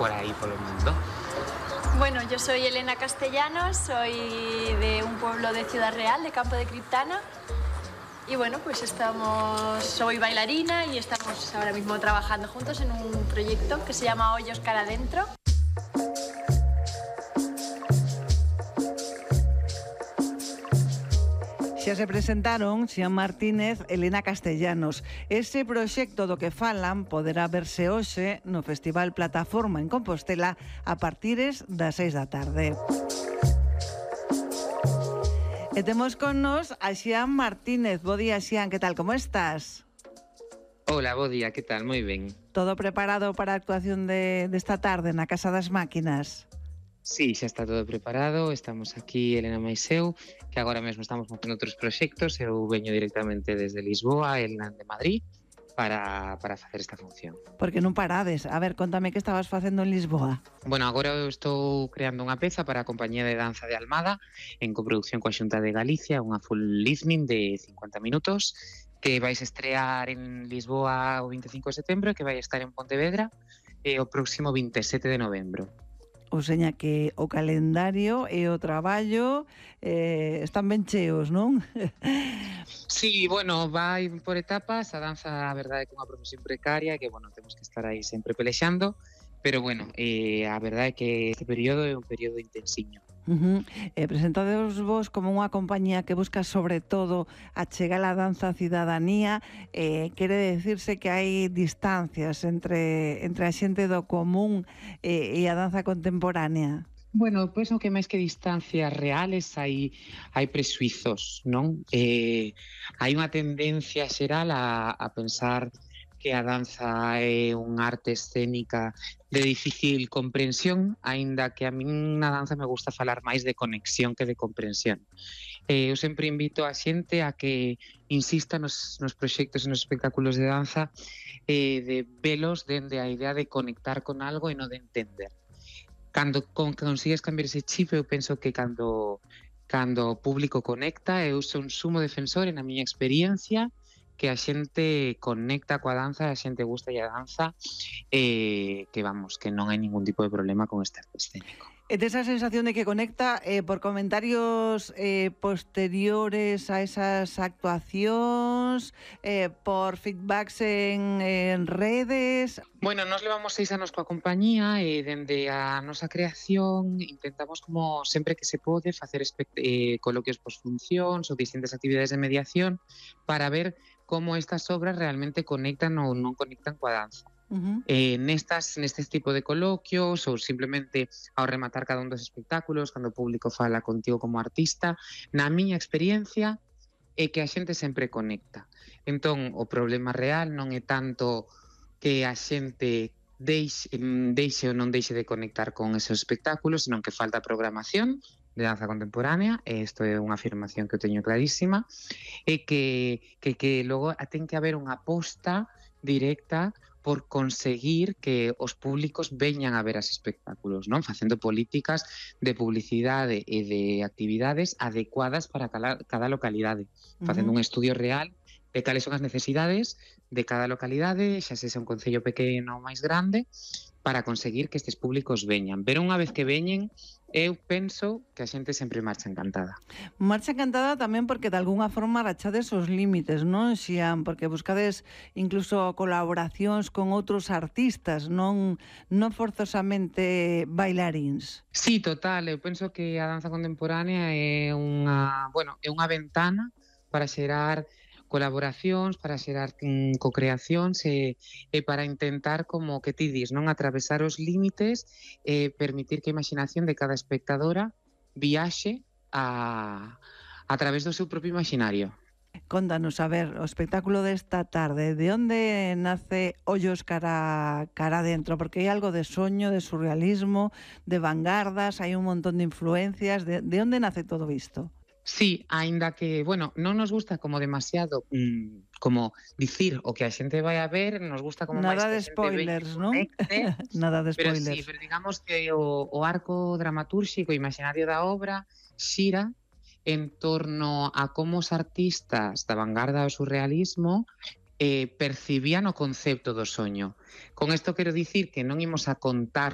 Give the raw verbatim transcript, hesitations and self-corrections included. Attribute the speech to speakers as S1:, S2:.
S1: por aí polo mundo.
S2: Bueno, yo soy Elena Castellanos, soy de un pueblo de Ciudad Real, de Campo de Criptana. Y bueno, pues estamos, soy bailarina y estamos ahora mismo trabajando juntos en un proyecto que se llama Hoyos Cara Adentro.
S3: Xa se presentaron Xian Martínez, Elena Castellanos. Ese proxecto do que falan poderá verse hoxe no Festival Plataforma en Compostela a partires das seis da tarde. E temos con nos a Xian Martínez. Bo día, Xian, que tal, como estás?
S1: Hola, bo día, que tal? Moi ben.
S3: Todo preparado para a actuación de, desta tarde na Casa das Máquinas?
S1: Sí, xa está todo preparado, estamos aquí, Elena mais eu, que agora mesmo estamos montando outros proxectos, eu veño directamente desde Lisboa, Elena de Madrid, para, para facer esta función.
S3: Porque non parades. A ver, contame que estabas facendo en Lisboa.
S1: Bueno, agora eu estou creando unha peza para a Compañía de Danza de Almada, en coproducción coa Xunta de Galicia, unha full listening de cincuenta minutos, que vais estrear en Lisboa o veinticinco de setembro, que vai estar en Pontevedra e o próximo veintisiete de novembro.
S3: O seña que o calendario e o traballo eh, están ben cheos, non?
S1: Sí, bueno, vai por etapas, a danza a verdade é que é unha profesión precaria que, bueno, temos que estar aí sempre pelexando, pero, bueno, eh, a verdade é que este período é un período intensiño.
S3: Uh-huh. Eh, presentades vos como unha compañía que busca sobre todo achegar a danza á cidadanía. Eh, quere decirse que hai distancias entre, entre a xente do común eh, e a danza contemporánea?
S1: Bueno, pois non que máis que distancias reales hai hai presuizos, non? Eh, hai unha tendencia xeral a, a pensar que a danza é unha arte escénica de difícil comprensión, aínda que a min na danza me gusta falar máis de conexión que de comprensión. Eh, eu sempre invito a xente a que insista nos, nos proxectos e nos espectáculos de danza eh, de velos dende a idea de conectar con algo e non de entender. Cando con, consigues cambiar ese chip, eu penso que cando, cando o público conecta, eu sou un sumo defensor, na miña experiencia, que a xente conecta coa danza, a xente gusta a danza, eh, que vamos, que non hai ningún tipo de problema con este arte escénico.
S3: E esa sensación de que conecta eh, por comentarios eh, posteriores a esas actuacións, eh, por feedbacks en, en redes.
S1: Bueno, nos levamos seis anos coa compañía e dende a nosa creación intentamos como sempre que se pode facer eh, coloquios posfuncións ou distintas actividades de mediación para ver como estas obras realmente conectan ou non conectan coa danza.
S3: Uh-huh.
S1: Eh, nestas, nestes tipo de coloquios ou simplemente ao rematar cada un dos espectáculos, cando o público fala contigo como artista, na miña experiencia é que a xente sempre conecta. Entón, o problema real non é tanto que a xente deixe, deixe ou non deixe de conectar con esos espectáculos, senón que falta programación de danza contemporánea, e isto é unha afirmación que eu teño clarísima, e que, que, que logo ten que haber unha aposta directa por conseguir que os públicos veñan a ver as espectáculos, non? Facendo políticas de publicidade e de actividades adecuadas para cada, cada localidade, facendo uh-huh. un estudio real de cales son as necesidades de cada localidade, xa sexa un concello pequeno ou máis grande, para conseguir que estes públicos veñan. Pero unha vez que veñen, eu penso que a xente sempre marcha encantada.
S3: Marcha encantada tamén porque de algunha forma rachades os límites, non, Xian? Porque buscades incluso colaboracións con outros artistas, non non forzosamente bailaríns.
S1: Sí, total, eu penso que a danza contemporánea é unha, bueno, é unha ventana para xerar colaboracións, para xerar mm, co-creacións e, e para intentar, como que ti dis, non atravesar os límites e permitir que a imaginación de cada espectadora viaxe a, a través do seu propio imaginario.
S3: Contanos, a ver, o espectáculo desta tarde, de onde nace Ollos cara, cara adentro? Porque hai algo de soño, de surrealismo, de vanguardas, hai un montón de influencias, de, de onde nace todo isto?
S1: Sí, aínda que, bueno, non nos gusta como demasiado mmm, como dicir o que a xente vai a ver, nos gusta como
S3: nada
S1: máis
S3: de spoilers, non? Nada de spoilers.
S1: Pero sí, pero digamos que o, o arco dramatúrxico, imaginario da obra, xira en torno a como os artistas da vanguarda do surrealismo eh, percibían o concepto do soño. Con isto quero dicir que non imos a contar